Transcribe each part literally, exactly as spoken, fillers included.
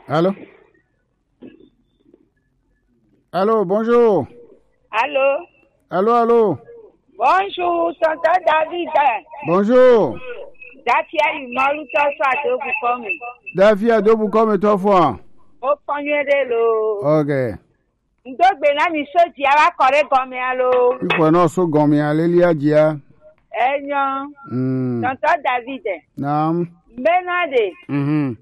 Allô? Allô, bonjour. Allô? Allô, allô? Bonjour, tonton David. Bonjour. Dafia yi mɔlu tɔ sɔ ado bukɔ mi. Dafia do bukɔ mi tɔ fɔ. O kpɔnyɛ de lo. Ok. Ŋdo gbe na mi so jia wa kɔ ɖe gɔmea lo. Ifɔ nɔ so gɔmea lelia jia. Enyo. Mm. Tonton David. Naam. Mbena de. Mhm.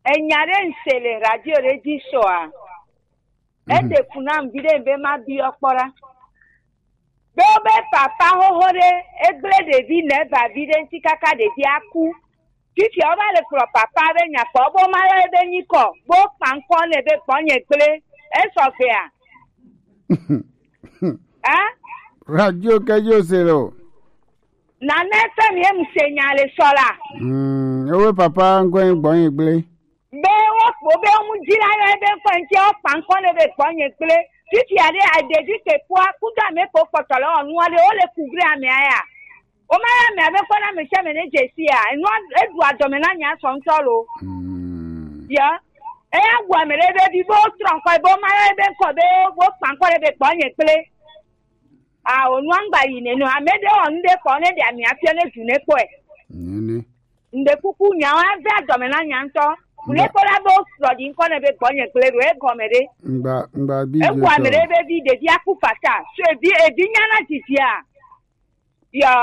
Enya ɖe ŋse le radio ɖe dzi sɔa. Mhm. Eɖe fu nam viɖe be ma biɔ kpɔ ɖa. Be wobe papa xoxo ɖe, egblẽ ɖevi nɛ ba vi ɖe ŋuti kaka ɖevia ku. Fifia wova le kplɔ papa be nya kpɔ, bo ma yɔ ebe nyikɔ, bo kpa ŋkɔ nɛ be gbɔnye gblẽ. Esɔ gbea? Hein? Radio ke yo se lo. Nane fɛn mi ye mu se nya le sɔ la. Mm, ewe papa ŋkɔ ye gbɔnye gblẽ. Be wo kpo be wo mu dzi la yɔ ebe ŋkɔ ŋuti wo kpa ŋkɔ nɛ be gbɔnye gblẽ. Fifia ɖe aɖevi ke kpɔa, kudo ame ko kpɔtɔ le wɔnua ɖe, wo le ku gblẽ amea ya. Wo ma yɔ ame abe kpɔ na ame sia ame ne dze si ya. Enua eɖu adɔme na nya sɔ ŋutɔ lo. Mm. Ya. Eya wu ame ɖe be bi be wo trɔ ŋkɔ be wo ma yɔ ebe ŋkɔ be wo kpa ŋkɔ ɖe be gbɔnye gblẽ. A, o nua ŋgba yi nenu. Ame ɖe wɔ nu ɖe kpɔ ne ɖe ami afia ne du ne kpɔe. Nene. Ŋde kuku nyawo ave adɔme na nya ŋutɔ. Ŋde kpɔ la be wo srɔ ɖi ŋkɔ ne be gbɔnye gblẽ ɖo egɔme ɖe. Ŋgba, ŋgba bi eku ame ɖe be vi ɖevi aku fata. So evi, evi nya na dzidzia. Yɔ.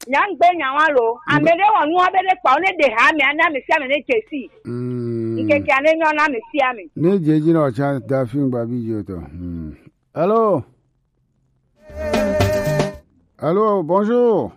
Nya ŋgbe nya wa lo. Ame ɖe wɔ nua be ɖe kpɔ ne ɖe ha ame ana ame sia ame ne dze si. Mm. Ŋkeke ane nyɔ na ame sia ame. Ne dze dzi na o tsa da fi ŋgba bi dzo tɔ. Mm. Allô? Allô, bonjour.